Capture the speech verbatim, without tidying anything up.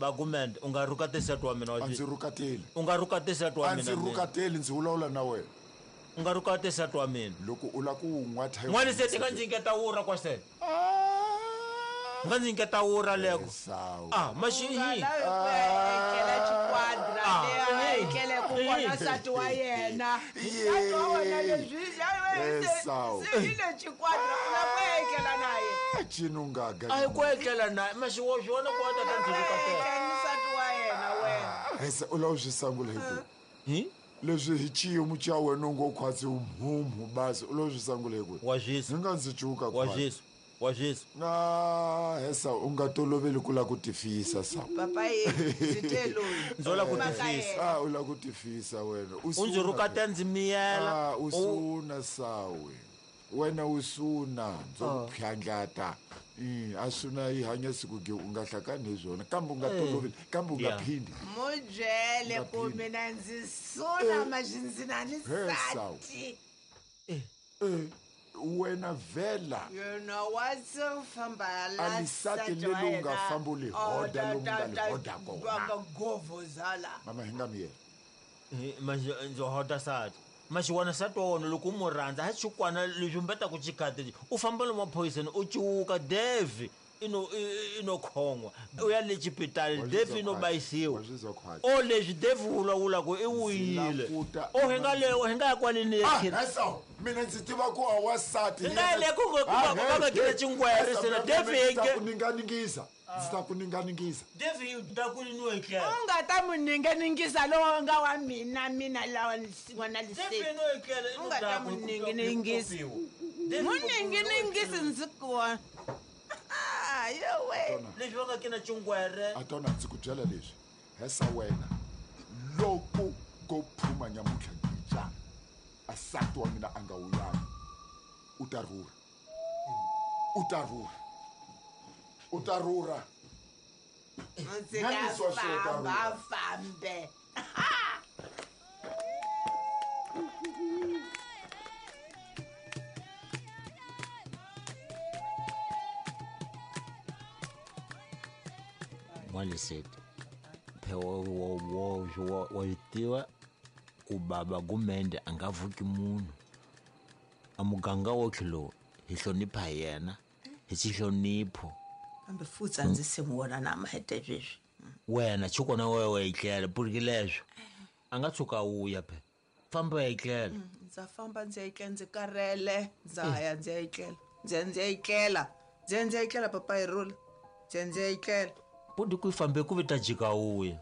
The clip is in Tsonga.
Bagumende u nga rhukateli nsati wa mina wa A ndzi rhukateli. U nga rhukateli nsati wa A ndzi mina. rhukateli, ndzi vulavula na wena. U nga rhukateli nsati wa mina. Loko u lava ku n'wa thayini. N'wana se tika ndzi nyiketa wura kwa se. Nga ndzi nyiketa wura leko. Esawu. Ah, maxi U nga hi. lavi ku ya etlela xikwadra Ah. leyi a etlele ku vona nsati wa yena. Nsati wa wena leswi ya wena se- Esawu. se hi le xikwadra u lava ku ya etlela na yena. Ah, Chinungaga. A hi ku etlela na maxi wo swi vona ku wa tata ndzi rhukatela. Etlela ni nsati wa yena wena. Ese u lava swi sangula hi ku. Hi? Leswi hi xiyimo xa wena u ngo khwatsi mhumhu basi u lava swi sangula hi ku. Wa zwisa. Ndzi nga ndzi cuka Wa khwatsi. zwisa. Wa zwisa. Na hesa u nga toloveli ku lava ku tifisa sa. Papa ye ndzi te loyi. Ndzo lava ku Mhaka tifisa. yena. Ah, u lava ku tifisa wena. U ndzi rhukatela ndzi miyela. Ah, u suna sawe. Wena u suna ndzo ku phyandlata. Mm, a suna yi hanya siku ge u nga hlakani hi swona kambe u nga toloveli kambe u nga Yeah. phindi. Mo byele ku Ngaphindi. mina ndzi suna maxi na ni He, Sawu. nsati. Eh, wena vhela. Yena wa se famba la A lisati nsati wa leli u nga yena. famba u li Oh, hoda ta- lomu nga li ta- ta- hoda kona. va nga govhozala. Mama hi nga miyela. Hi, maxi ndzo hoda nsati. Maxi wona nsati wa wona loko u mu rhandza ha xikwana leswi mbetaku xikhati u famba lomu maphoyiseni u cuka Devi ino i- ino khon'wa u ya le xipitali Wa swi Devi zwa ino khwatsi. bayisiwa. Wa swi zwa khwatsi. O leswi Devi vulavulaku i wuyile. Ndzi O hi nga le hi nga ya kwaleni Ah, ekhini. hesa mina ndzi tiva ku a wasati. Hi nga ya le ku nga- ku va- va nga kile chingwere sena Devi hi Ndzi ta nge- ku ninganingisa. Ndzi ta ku ninganingisa. Devi yi ta ku ni etlela. U nga ta mu ninganingisa lowu nga wa mina mina lawa n'wana Devi liseti. ino etlela U nga ta mu ninginingisa. Mu ninginingisi ndzi ku. Ah, yowe. Leswi va nga kina chingwere. A tona ndzi ku byela leswi. Hesa wena. Loko go phuma nyamuntlha ngija. A nsati wa mina a nga wuyanga. U ta rhurha. U ta rhurha. U ta rhurha. Ndzi nga Nyanyiso wa xo ta famba rhurha. fambe. N'waliseti phe wa wa wa wa wa swi tiva ku baba Gumende a nga vuki munhu. A muganga wotlhe lowu hi hlonipha hi yena hi xihlonipho. Kambe futhi a ndzi se n'wi vona na mahete sweswi. Wena chukona wewe wa etlela puriki leswo a nga tshuka a wuya phe famba u ya etlela. Ndza famba ndzi ya etlela ndzi karhele ndza ya ndzi ya etlela ndzi ya ndzi ya etlela ndzi ya ndzi ya etlela papa hi rhula ndzi ya ndzi ya etlela. Pudi ku yi fambe ku vi ta jika wuya.